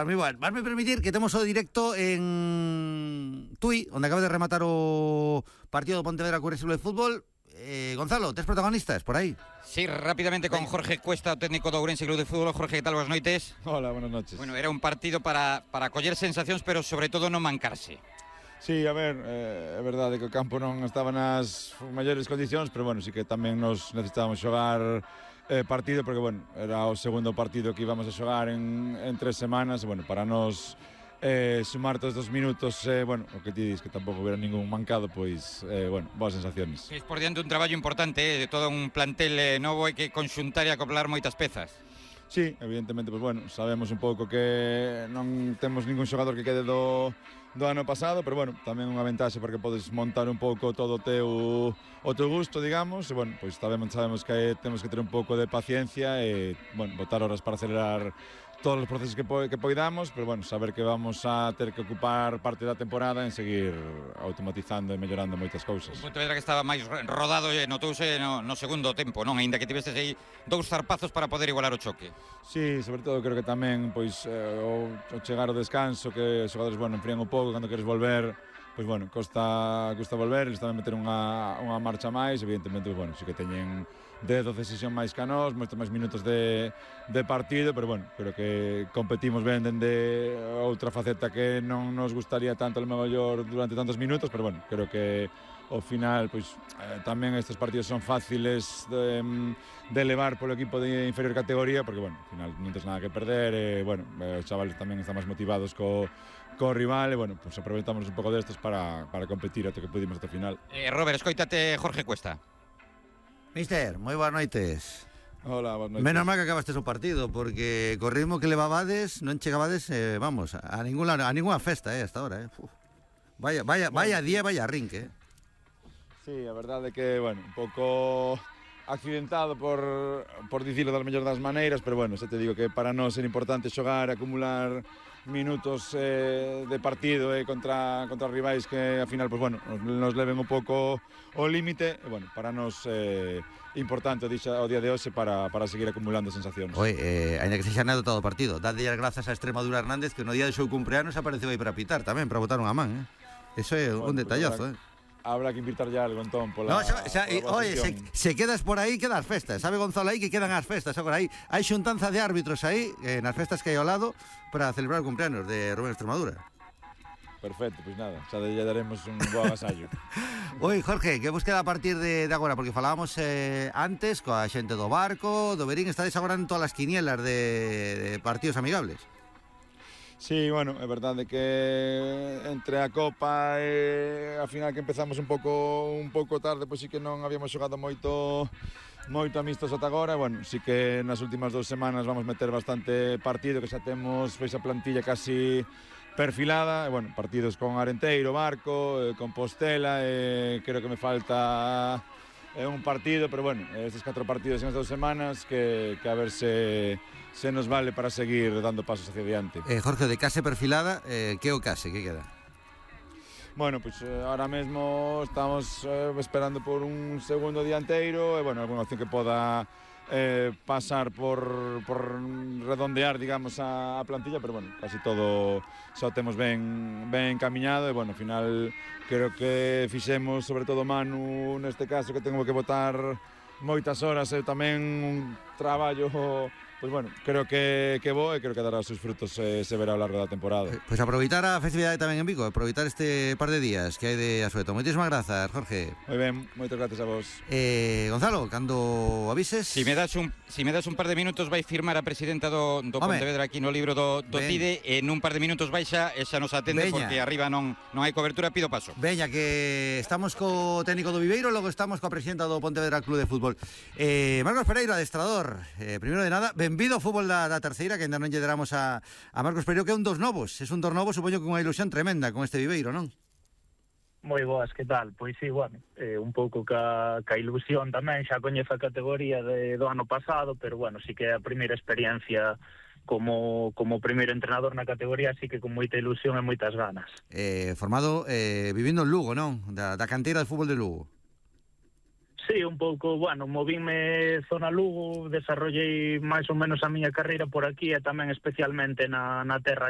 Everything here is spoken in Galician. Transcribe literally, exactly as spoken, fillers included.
Moi ben, vasme permitir que temos o directo en Tui, onde acaba de rematar o partido do Pontevedra co Club de Fútbol. eh, Gonzalo, tes protagonistas por aí? Sí, rápidamente con Jorge Cuesta, técnico do Ourense Club de Fútbol. Jorge, que tal? Boas noites. Hola, buenas noches. Bueno, era un partido para, para coller sensacións, pero sobre todo non mancarse. Sí, a ver, eh, é verdade que o campo non estaba nas maiores condicións, pero bueno, sí que tamén nos necesitábamos xogar eh, partido, porque bueno, era o segundo partido que íbamos a xogar en, en tres semanas, e bueno, para nos eh, sumar todos os minutos, eh, bueno, o que ti dis, que tampouco hubiera ningún mancado, pois, eh, bueno, boas sensaciones. Es por diante un traballo importante, eh, de todo un plantel eh, novo, hai que conxuntar e acoplar moitas pezas. Sí, evidentemente, pues bueno, sabemos un pouco que non temos ningún xogador que quede do, do ano pasado, pero bueno, tamén unha ventaxe porque podes montar un pouco todo o teu, o teu gusto, digamos, e bueno, pois sabemos, sabemos que temos que ter un pouco de paciencia e, bueno, botar horas para acelerar todos os procesos que, po que poidamos, pero bueno, saber que vamos a ter que ocupar parte da temporada en seguir automatizando e mellorando moitas cousas. O Pontevedra que estaba máis rodado e notouse no, no segundo tempo, non? Aínda que tivestes aí dous zarpazos para poder igualar o choque. Sí, sobre todo creo que tamén pois, eh, o, o chegar ao descanso, que os xogadores, bueno, enfrían un pouco cando queres volver, pois bueno, costa, costa volver, eles tamén meter unha, unha marcha máis, evidentemente, bueno, sí que teñen dez, doce sesión máis que a nós, moitos máis minutos de, de partido, pero bueno, creo que competimos ben dende outra faceta que non nos gustaría tanto, a lo mellor, durante tantos minutos, pero bueno, creo que ao final, pois, eh, tamén estes partidos son fáciles de, de elevar polo equipo de inferior categoría, porque, bueno, ao final non tens nada que perder, e, bueno, os chavales tamén están máis motivados co, co rival, e, bueno, pues aproveitamos un pouco destes para, para competir até que pudimos até o final. Eh, Robert, escoítate Jorge Cuesta. Mister, moi boas noites. Hola, boas noites. Menos mal que acabastes o partido, porque co ritmo que levabades non chegabades, eh, vamos, a ninguna, a ninguna festa, eh, hasta ahora, eh. Uf. Vaya, vaya, vaya día, vaya rinque, eh. Sí, a verdade é que, bueno, un pouco accidentado por, por dicirlo das mellor das maneiras, pero bueno, xa te digo que para nós é importante xogar, acumular minutos eh, de partido eh, contra, contra rivais que, ao final, pues, bueno, nos, nos leven un pouco o límite, e, bueno, para nós é eh, importante o, dixa, o día de hoxe para, para seguir acumulando sensacións. Oi, eh, ainda que sexa anécdota do partido, dadlle as grazas a Extremadura Hernández, que no día do seu cumpleanos apareceu aí para pitar tamén, para botar unha man, eh. Eso é bueno, un detallazo, pues, eh. Habrá que invitar ya algo, entón, pola... No, xa, xa, pola oye, se, se quedas por aí, quedas festas. Sabe Gonzalo aí que quedan as festas. Agora aí hai xuntanza de árbitros aí, eh, nas festas que hai ao lado, para celebrar o cumpleaños de Rubén Extremadura. Perfecto, pois pues nada, xa lle daremos un bo agasallo. Oi, Jorge, que vos queda a partir de, de agora? Porque falábamos eh, antes coa xente do Barco, do Verín, estades agora en todas as quinielas de, de partidos amigables. Sí, bueno, é verdade que entre a Copa e a final que empezamos un pouco un pouco tarde, pois sí que non habíamos xogado moito moito amistos ata agora, bueno, sí que nas últimas dous semanas vamos meter bastante partido, que xa temos pois a plantilla casi perfilada, e bueno, partidos con Arenteiro, Barco, eh, Compostela, e creo que me falta eh, un partido, pero bueno, estes catro partidos en estas dous semanas que, que a ver se se nos vale para seguir dando pasos hacia adiante. Eh, Jorge, de case perfilada, eh, que o case, que queda? Bueno, pues eh, ahora mesmo estamos eh, esperando por un segundo dianteiro e, bueno, alguna opción que poda eh, pasar por, por redondear, digamos, a, a plantilla, pero, bueno, casi todo xa temos ben, ben encaminado e, bueno, ao final creo que fixemos, sobre todo Manu, neste caso, que tengo que botar moitas horas e tamén un traballo... Pois pues bueno, creo que, que bo e creo que dará os seus frutos eh, se verá ao largo da temporada. Pois pues aproveitar a festividade tamén en Vigo, aproveitar este par de días que hai de asueto. Moitísimas grazas, Jorge. Moi ben, moitas gracias a vos. Eh, Gonzalo, cando avises... Si me das un, si me das un par de minutos vai firmar a presidenta do, do Pontevedra aquí no libro do, do Tide, e en un par de minutos baixa e xa nos atende. Veña. Porque arriba non, non hai cobertura, pido paso. Veña, que estamos co técnico do Viveiro, logo estamos coa presidenta do Pontevedra Club de Fútbol. Eh, Marcos Pereiro, adestrador. Eh, primeiro de nada, benvido ao fútbol da, da terceira, que ainda non lle deramos a, a Marcos Pereiro, que é un dos novos. Es un dos novos, supoño que unha ilusión tremenda con este Viveiro, non? Moi boas, que tal? Pois sí, bueno, eh, un pouco ca, ca ilusión tamén, xa coñezo a categoría de, do ano pasado, pero bueno, sí que é a primeira experiencia como, como primeiro entrenador na categoría, así que con moita ilusión e moitas ganas. Eh, formado, eh, vivindo en Lugo, non? Da, da canteira de fútbol de Lugo. Sí, un pouco, bueno, movíme zona Lugo, desarrollei máis ou menos a miña carreira por aquí e tamén especialmente na, na terra